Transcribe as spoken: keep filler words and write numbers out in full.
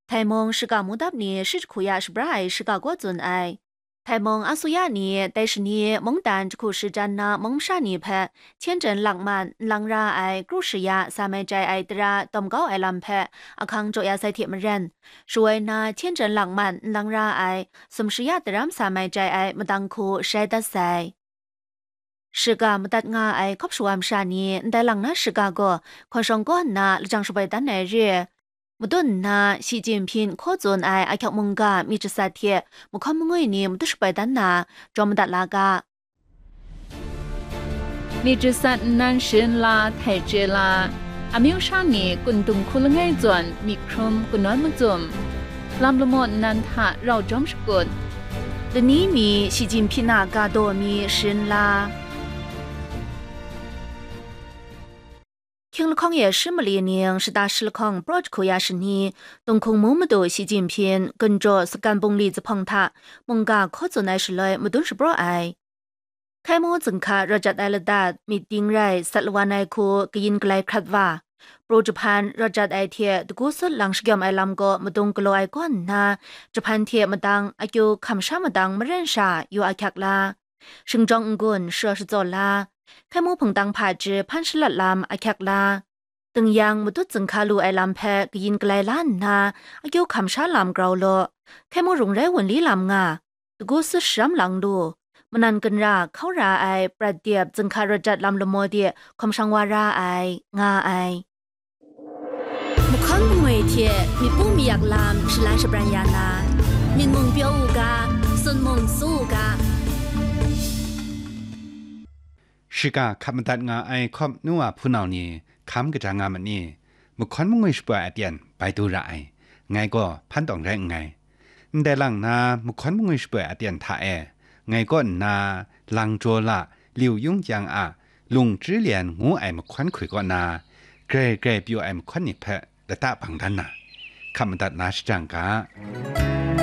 Htai mung shiga mudap ni shi jahku ya shabra ai shiga gaw tsun ai. Htai mung asuya ni dai shani mungdan jahku shi jan na mung masha ni hpe Tianjin lakman n lang ra ai kru shi ya sa mai jai ai tara dawm kau ai lam hpe ahkang jaw ya sai hte maren, shawoi na Tianjin lakman n lang ra ai sum shi ya tara masa mai jai ai madang hku shai dat sai. Shiga madat nga ai hkawp shawa masha ni ndai lang na shiga gaw hkawn shawng kaw nna lajang shaboi dan ai re. Madun nna Xi Jinping hkaw tsun ai ahkyek mungga myit jasat hte mahkawn mangwi ni madun shaboi dan na, jaw madat la ga. Myit jasat nnan sharin la, htai chye la, amyu sha ni kun dung hku langai zawn myit hkrum kanawn macum, lam lamaw nnan hta rau jawm shakut, lani mi Xi Jinping a ga daw mi sharin la. Hkying lahkawng e shi mali ning shata shi lahkawng praw jahku ya shani, Tunghkung mung madu Xi Jinping, Gunjaw Sakan Bungli zuphpawng hta mungga hkaw tsun ai shaloi madun shapraw ai. Hkai mu zinghka rawt jat ai ladat, myit ding rai sat lawan ai hku kayin galai hkrat wa, pru jahpan rawt jat ai hte dagu sut lang shagyawm ai lam gaw madung galaw ai kaw nna, jahpan hte madang akyu hkam sha madang maren sha yu ahkyak la, shingjawng n-gun sharaw shatsaw la, hkai mu hpungtang hpaji hpan shalat lam ahkyak la, ding yang madut zinghka lu ai lam hpe kayin galai la nna, akyu hkam sha lam grau law, hkai mu rung rai wunli lam nga, dagu sut sharam lang lu, manan ginra hkau ra ai prat dip zinghka rawt jat lam lamaw de hkawm shang wa ra ai, nga ai. Mahkawn mangwi hte myit pu mayak lam shalai shabran ya na, myit mung pyaw u ga, sun mung su u ga. Shiga hkap madat nga ai hkawp nu wa hpunau ni hkam kaja nga ma ni? Mahkawn mangwi shapoi aten bai du ra ai, ngai gaw hpan tawng rai nngai. Ndai lang na mahkawn mangwi shapoi aten hta e, ngai kaw nna Langjaw la, Liu Yung Yang a Lung Chri Lian ngu ai mahkawn hkoi kaw na, grai grai pyaw ai mahkawn ni hpe lata bang dan na, hkap madat la shajang ga.